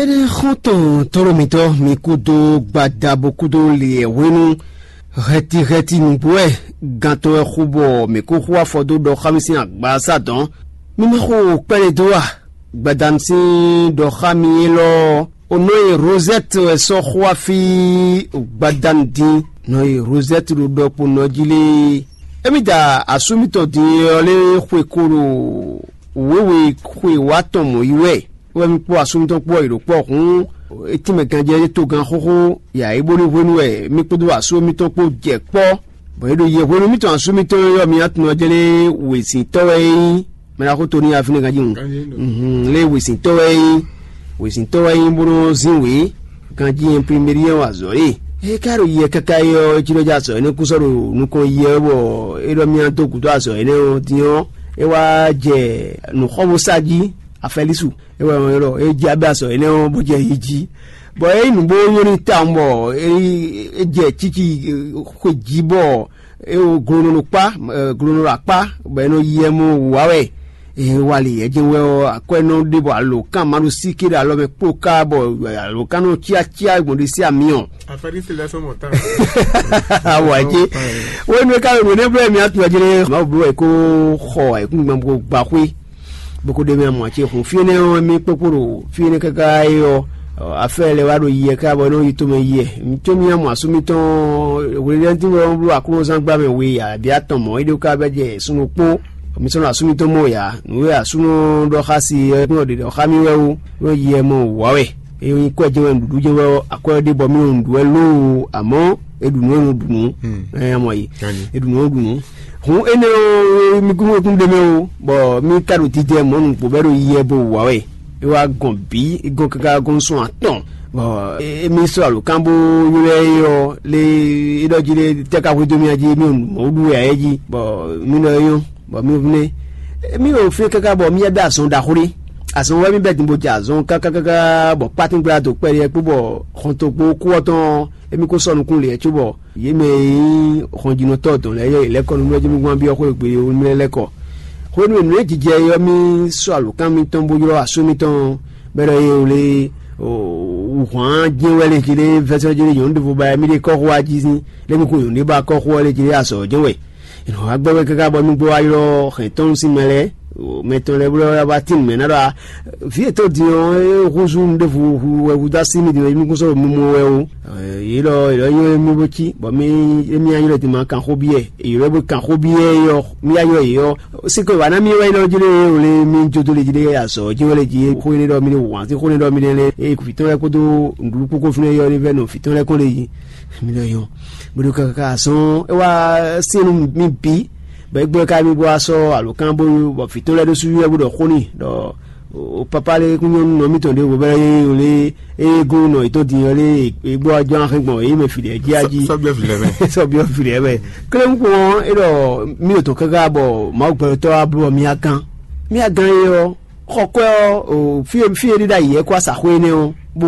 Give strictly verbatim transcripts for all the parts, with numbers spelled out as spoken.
Énɛ́ xɔ́ntɔn tɔ́lɔmítɔ́ mi kúdó gbadabo kúdó lě hwenu hɛtihɛti nǔgbó wɛ gantɔ́ wɛ xú bɔ mǐ kó xú afɔ dó ɖɔ xá mì sín agbasa dɔn. Mi ma xo kpɛ́ɖé dó a? Gbadanu sín ɖɔ xá mi élɔ́ ɔ́, o nɔ e Rozɛ́t wɛ sɔ́ xó afí gbadanu dín. Nɔ e Rozɛ́t ɖo ɖɔkpo nɔ jí lé. Émí da asú mitɔn din ɔ́ lé xwe ko ɖo wěwe xwe wá tɔn mɔ̌ yi wɛ. Wɛ mi kpó asú mitɔn kpó ɔ́ yi ɖo kpɔ́ hǔn, é tínmɛ ganjɛ é togán xóxó yǎ é bónú hwenu wɛ mi kpódó asú mitɔn kpó jɛ kpɔ́. Bɔ é ɖo yɛ hwenu mitɔn asú mitɔn ɔ́ mi atun ɔ́ jɛ́n lé wěsintɔ́ wɛ é nyí. Mɛ ɖaxó Toni Afine ganjí nu. Lé wěsintɔ́ wɛ é nyí. Wěsintɔ́ wɛ é nyí bó nɔ́ zín wě ganjí imprimeri ɔ́ wa azɔ̌ é. É ka ɖo yɛ káká é ɔ́, é cí ɖɔ jɛ azɔ̌ énɛ́ kú sɔ́ ɖo nukɔn yɛ ɔ́ bɔ é ɖɔ mì dó gǔdo azɔ̌ énɛ́ ɔ́ din ɔ́, é wá jɛ nǔxɔ́bósa jí afɛlísu. É wɛ ɔ́ é jɛ abɛ azɔ̌ énɛ́ ɔ́ bó jɛ yi jí. Bɔ é nyí nǔ bó nyɔ́ n'i tawun bɔ é jɛ cíci xwe jí bɔ é wo glonɔ ɖo kpá, glonɔ ɖo akpá, bɔ é nɔ yi ɛ mɔ wǔ wá wɛ. Ee, wali ɛjɛ wɛ ɔ́, akwɛ́nɔ ɖé bɔ alǒkan ma ɖo sí ké ɖo alɔ mɛ kpó ká bɔ alǒkan nɔ cyácyá gbɔn ɖé sí amyɔ. Afɛɖi se lɛ sɔmɔ tán. Awɔ ɛjɛ. Wenu ka wenu ne blɛ mi atu ɛjɛ ne ma blɔ ɛ ko xɔ ɛ kún gbɛn ko gba xwé. Boko ɖe mɛ mɔ ce hun fie ne ɔ́ mi kpokpo ɖo fie ne kaka ye ɔ́. Afɛ lɛ wa ɖo yɛ ká bɔ nɔ yi to mɛ yɛ. Tso mi amɔ asumi tɔn wele ɖe ti wɔ blɔ aklúnɔzán gba mɛ we abi atɔn mɔ ede ka bɛ jɛ sunu kpó. Mi sɔnɔ asumi tɔn mɔ ya. Nǔ e asun nɔ ɖɔ xá si ɔ́, é kún nɔ ɖe ɖɔ xá mì wɛ ó, nɔ yi ɛ mɔ wǎ wɛ. É nyí kwɛ́ jɛ́n wɛ nǔɖuɖu jɛ́n wɛ ɔ́, akwɛ́ ɔ́ ɖe bɔ mì nɔ nǔɖu wɛ lóo, amɔ̌ é ɖu nǔ e nɔ ɖu nǔ. Ɛ mɔ yi, é ɖu nǔ e nɔ ɖu nǔ. Hǔn énɛ́ ɔ́, mì kún wekún ɖ'é mɛ ó, bɔ mì ka ɖo didɛ mɔ̌ nǔgbó bɔ é ɖo yi ɛ bo wǎ wɛ. É wá gɔn bǐ, é gɔn káká gɔn sɔn atɔn. Bɔ émí sɔ́ alǒkan bó ylɔ́ ɛ ɔ́ lé é ɖɔ jí lé tɛ́ ka hwedó mì jí mì mɔ̌ ɖu wɛ ɛ jí, bɔ mì ɖɔ é nyɔ́. Bɔ mì vnɛ mì ɖo fí káká bɔ mì yá bɛ azɔn ɖaxó ɖé. Azɔn wɛ mì bɛ din bó jɛ azɔn kákákáká bɔ kpátín gbla dó kpɛɖé kpó bɔ xɔntɔn kpó kú ɔ́ tɔn émí kó sɔ́ nukún lě cóbɔ yě mɛ e nyí xɔnjínɔtɔ́ dɔn lɛ́ɛ yɛ lɛ́ kɔ nú mɛ jí mì gbɔn byɔ́ xó e gbe mɛ lɛ́ kɔ. Hwenu e nǔ e jijɛ é ɔ́ mì sɔ́ alǒkan mitɔn bó ylɔ́ asú mitɔn bɔ é ɖɔ é wlé wǔhwan jɛ́n wɛ lě jí lé vɛ́sɛ́ jí lé nyɔ̌nu ɖěvo ba mì ɖe kɔ́xo wá jí sín lé mì kún nyɔ̌nu ɖé ba kɔ́xo ɔ́ lě jí lé azɔ̌ jɛ́n wɛ. È nɔ wá gbɛ́ wɛ káká bɔ mi gbɔ wá ylɔ́ hɛ̌ntɔ́nu sín mɛ lɛ́ɛ, mɛ tɔn lɛ́ɛ blɔ́ wá tín mɛ ná ɖɔ vǐ yětɔn din ɔ́, é húzú nǔɖévu hu wɛ húzú así mi din ɔ́, mi kún sɔ́ ɖo mimɔ wɛ ó. Yě lɔ yě lɔ nywɛ́ mì bó cí, bɔ mì émí ylɔ́ din ma kan xó byɔ́ ɛ. Yě lɔ bó kan xó byɔ́ ɛ ɔ́, mì ylɔ́ yě ɔ́. Síkɔ wǎ ná mì wɛ ylɔ́ jí lé o lé mì jó dó lé jí lé azɔ̌ jí wɛ lé jí xó énɛ́ ɖɔ mi lé wǎn sín xó énɛ́ ɖɔ mi lé lé é vǐ tɔn lɛ́ɛ kpódó nǔɖuɖu kpókó fínɛ́ yɔ ní vɛ́ nɔ vǐ tɔn lɛ́ɛ kɔn lé jí. Mi lɔ yɔ. Bó ɖo káká azɔn é wá syɛ́nnu mi bǐ, bɔ é gbɔ ká mi bó wá sɔ́ alǒkan bó bɔ vǐ tɔn lɛ́ɛ ɖó sú wɛ bó ɖɔ xó n'i ɖɔ o papa lé kún nyɔ́nú nɔ mítɔn ɖěvo bɛ́ é o lé é gó nɔ yětɔn din ɔ́ lé é gbɔ wá jɔ́n axé gbɔn é mɛ fǐɖɛ jí ají. Sɔ́byɔ́ fǐɖɛ mɛ. Sɔ́byɔ́ fǐɖɛ mɛ. Kléwúnkpɔ́n é ɖɔ mí ò tɔn káká bɔ Mawu gbɛtɔ́ wá bló ɔ́ mí á gán. Mí á gán é ɔ́, xɔ kwɛ́ ɔ́ o fí e fí e ɖíɖá yǐ ɛ kó asaxwé énɛ́ ɔ́ bó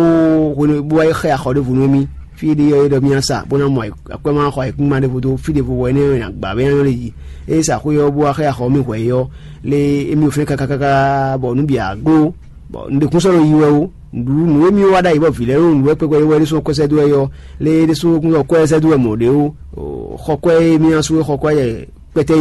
hwenu bó wá xɛ axɔ ɖěvo nú émí. Fí e ɖi ɔ́ é ɖɔ mì nǎ sa bó ná mɔ akwɛ́ ma xɔ ayǐkúngban ɖěvo dó fí ɖěvo wɛ énɛ́ ɔ́ è nǎ gbǎ bɔ é ná nyɔ́ lé jí. Ée sa xwé ɔ́ bó wá xɛ axɔ mì hwɛ é ɔ́, lé émí ɔ́ fɛ́n káká káká bɔ nǔ bǐ á gló. Bɔ un ɖe kún sɔ́ nɔ yi wɛ ó. Nǔ nǔ émí wá ɖ'ayǐ bɔ vǐ lɛ́ɛ ɖo nǔ wɛ kpɛkpɛ é wɛ ɖésú ɔ́ kɔ́ sɛ́ dó wɛ é ɔ́, lé ɖésú kún sɔ́ kɔ́ sɛ́ dó wɛ mɔ̌ ɖé ó. Xɔ kwɛ́ émí ná sú é xɔ kwɛ́ yɛ kpɛtɛ